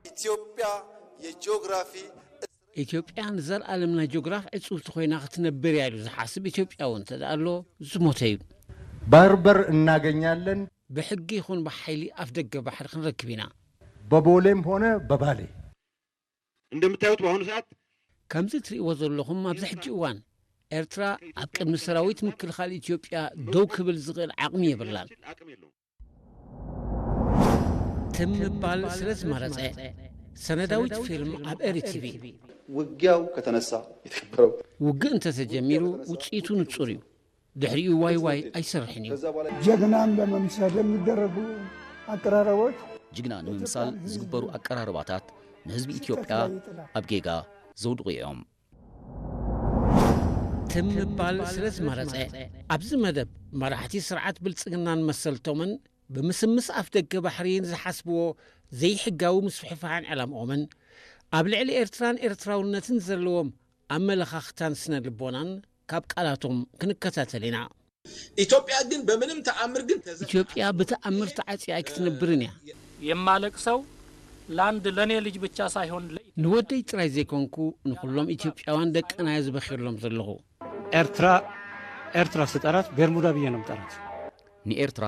ኢትዮጵያ የጂኦግራፊ ኢትዮጵያ ንዘለኣለም ናይ ጂኦግራፍ ዕጽውቲ ኮይና ክትነብር እያ ኢሉ ዝሓስብ ኢትዮጵያዊ እንተ ደኣ ኣሎ ዝሞተ እዩ። በርበር እናገኛለን። ብሕጊ ይኹን ብሓይሊ ኣፍ ደገ ባሕሪ ክንረክብ ኢና። በቦሌም ሆነ በባሌ እንደምታዩት በአሁኑ ሰዓት ከምዚ እትርእይዎ ዘለኹም ኣብዚ ሕጂ እዋን ኤርትራ ኣብ ቅድሚ ሰራዊት ምክልኻል ኢትዮጵያ ደው ክብል ዝኽእል ዓቕሚ የብላን። ትም ምባል ስለ ዝመረጸ፣ ሰነዳዊት ፊልም ኣብ ኤሪ ቲቪ። ውጊያው ከተነሳ የተከበረው ውግእ እንተተጀሚሩ ውጽኢቱ ንጹር እዩ። ድሕሪኡ ዋይ ዋይ ኣይሰርሕን እዩ። ጀግናን ለመምሰል የሚደረጉ አቀራረቦች ጅግና ንምምሳል ዝግበሩ ኣቀራርባታት ንህዝቢ ኢትዮጵያ ኣብ ጌጋ ዘውድቑ እዮም። ትም ምባል ስለ ዝመረጸ፣ ኣብዚ መደብ መራሕቲ ስርዓት ብልጽግናን መሰልቶምን ብምስምስ ኣፍደገ ባሕሪ ንዝሓስብዎ ዘይሕጋዊ ምስፍሕፋሕን ዕላምኦምን ኣብ ልዕሊ ኤርትራን ኤርትራውነትን ዘለዎም ኣመለኻኽታን ስነ ልቦናን ካብ ቃላቶም ክንከታተል ኢና። ኢትዮጵያ ግን በምንም ተኣምር ግን ተዘ- ኢትዮጵያ ብተኣምር ተዓጽያ ኣይክትነብርን እያ። የማለቅሰው ለአንድ ለኔ ልጅ ብቻ ሳይሆን ለኢትዮጵያ ንወደይ ጥራይ ዘይኮንኩ ንኹሎም ኢትዮጵያውያን ደቅና እየ ዝበኽየሎም ዘለኹ። ኤርትራ ኤርትራ ስጠራት ቤርሙዳ ብዬ ነው ምጠራት። ንኤርትራ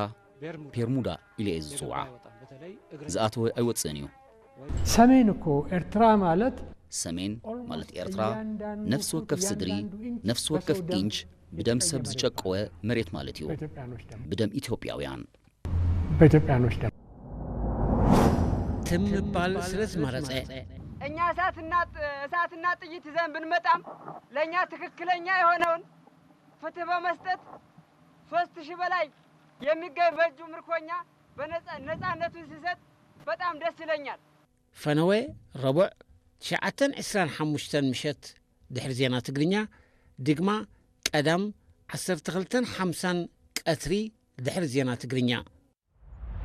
ቤርሙዳ ኢለ እየ ዝጽውዓ። ዝኣተወ ኣይወጽእን እዩ። ሰሜን እኮ ኤርትራ ማለት ሰሜን ማለት ኤርትራ ነፍሲ ወከፍ ስድሪ፣ ነፍሲ ወከፍ ኢንች ብደም ሰብ ዝጨቀወ መሬት ማለት እዩ። ብደም ኢትዮጵያውያን። በኢትዮጵያኖች ደም። ትም ምባል ስለ ዝመረጸ። እኛ እሳትና እሳትና ጥይት ይዘን ብንመጣም ለእኛ ትክክለኛ የሆነውን ፍትህ በመስጠት ሶስት ሺህ በላይ የሚገኝ በእጁ ምርኮኛ በነጻ ነጻነቱን ሲሰጥ በጣም ደስ ይለኛል። ፈነወ ረቡዕ ትሽዓተን ዕስራን ሓሙሽተን ምሸት ድሕሪ ዜና ትግርኛ፣ ድግማ ቀዳም ዓሰርተ ክልተን ሓምሳን ቀትሪ ድሕሪ ዜና ትግርኛ።